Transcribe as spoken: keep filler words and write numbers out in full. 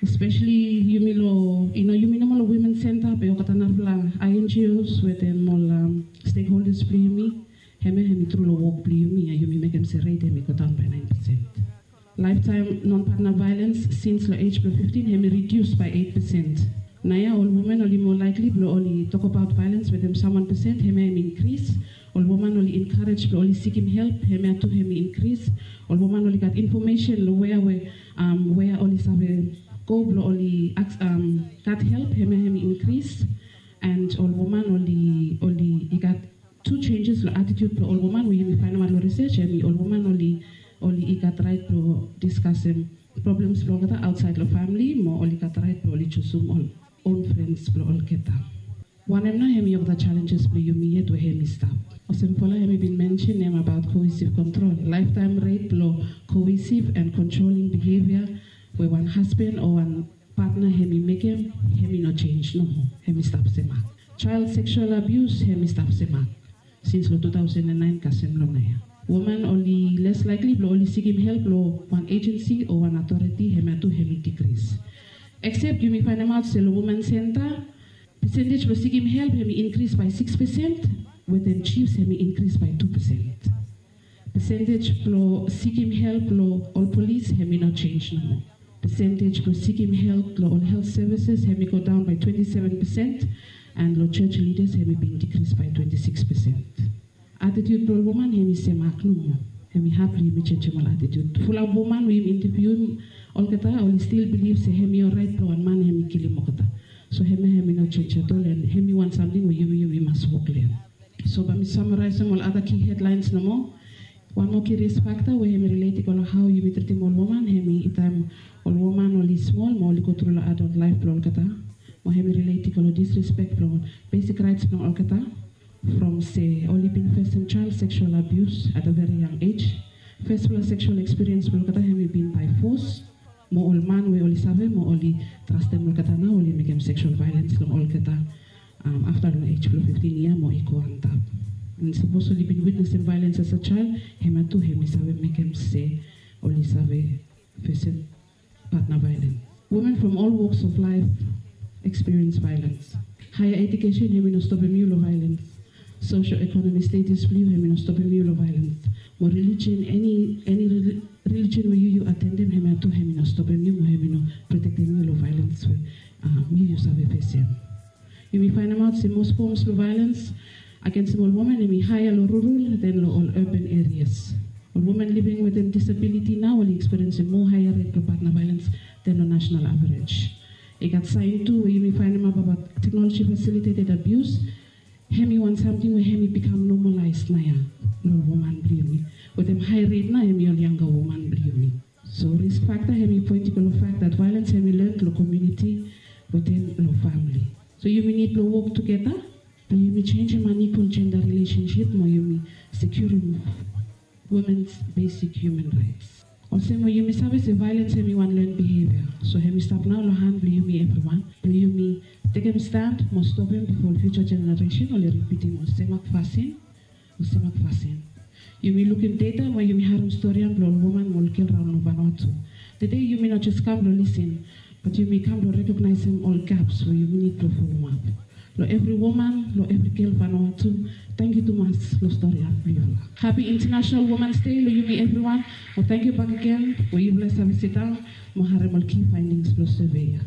Especially yumi lo, you know, yumi nomo lo women center be olgeta narafala I N G Os wetem ol um, stakeholders blo yumi. Hemia hemi tru lo wok blo yumi ya yumi mekem se rate hemi go daun by nine percent. Lifetime non-partner violence since lo age blo fifteen hemi reduce by eight percent. Naoia ol women oli more likely blo oli talk about violence wetem someone percent hemia hemi increase. Ol woman oli encourage blo oli sikim help hemia tu hemi increase. Ol woman oli gat information lo wea we um, wea oli save go blo oli aks um, gat help hemia hemi increase. And ol woman oli oli i gat two changes lo attitude blo ol woman we yumi faindaot lo research hemi ol woman oli oli i gat right blo diskasim problems blo olgeta outside lo family mo oli gat right blo oli jusum ol own friends blo olgeta. Wanem nao hemi olgeta challenges blo yumi yet we hemi stap. Olsem fola hemi bin mention nem about cohesive control. Lifetime rate blo cohesive and controlling behavior we wan husband o wan partner hemi mekem hemi no change nomo. Hemi stap semak. Child sexual abuse hemi stap semak. Since lo two thousand and nine kasem lo naoia. Woman oli less likely blo oli sikim help lo wan agency o wan authority hemia tu hemi decrease. Except yumi faindaot se lo woman center percentage blo sikim help hemi increase by six percent. Wetem chiefs hemi increase by two percent. Percentage blo sikim help lo ol police hemi no change nomo. Percentage blo sikim help lo ol health services hemi go daun by twenty-seven percent. And lo church leaders hemi bin decrease by twenty-six percent. Attitude blo ol woman hemi semak nomo. Hemi had blo yumi jenjem ol attitude. Fulap woman we yumi interviewim olgeta oli still believe se hemi orait blo wan man hemi kilim olgeta. So hemia hemi no change at all and hemi wan samting we yumi yumi mas wok lo hem. So bae mi samaraisim ol other key headlines nomo. Wan moa key risk factor we hemi relate i go lo hao yumi tritim ol woman hemi taem ol woman oli smol mo oli go tru lo adult life blo olgeta. Mo hemi relate i go lo disrespect blo basic rights blo olgeta. From se oli bin facem child sexual abuse at a very young age. Firstfala sexual experience blo olgeta hemi bin by force. Mo ol man we oli save mo oli trastem olgeta nao oli mekem sexual violence long olgeta. Um, afta long age blo fifteen yia mo i go antap. And sapos oli bin witnesem violence as a child, hemia tu hemi save mekem se oli save facem partner violence. Women from all walks of life experience violence. Higher education hemi no stopem yu long violence. Social economy status blo yu hemi no stopem yu long violence. Mo religion, any any religion we yu yu atendem hemia tu hemi no stopem yu mo hemi no protektem yu long violence we um, yu yu save facem. Yumi faindaot se most forms blo violence against ol women hemi higher lo rural than lo ol urban areas. Ol women living wetem disability nao oli experiencem moa higher rate blo partner violence than lo national average. I gat saen tu we yumi faindaot abaot technology facilitated abuse. Hemi wan samting we hemi bikam normalized naoia lo ol woman blo yumi. Wetem high rate nao hemi ol younger woman blo yumi. So risk factor hemi poen i go lo fact that violence hemi learned lo community wetem lo family. So yumi nid blo wok tugeta blo yumi jenjem unequal gender relationship mo yumi securim women's basic human rights. Olsem we yumi save se violence hemi wan learned behavior. So hemi stap nao lo han blo yumi evriwan blo yumi tekem stand mo stopem bifo ol future generation oli ripitim ol semak fasin. Ol semak fasin. Yumi lukim data mo yumi harem storian blo ol woman mo ol gel raon lo Vanuatu. Tede yumi no jes kam blo lisin bat yumi kam blo rekognaesem ol gaps we yumi nid blo folomap. Lo evri woman, lo evri gel Vanuatu, tangkiu tumas lo storian blo yufala. Hapi International Women's Day lo yumi evriwan. Mo tangkiu bakegen we yufala save sidaon mo harem ol key findings blo survey ya.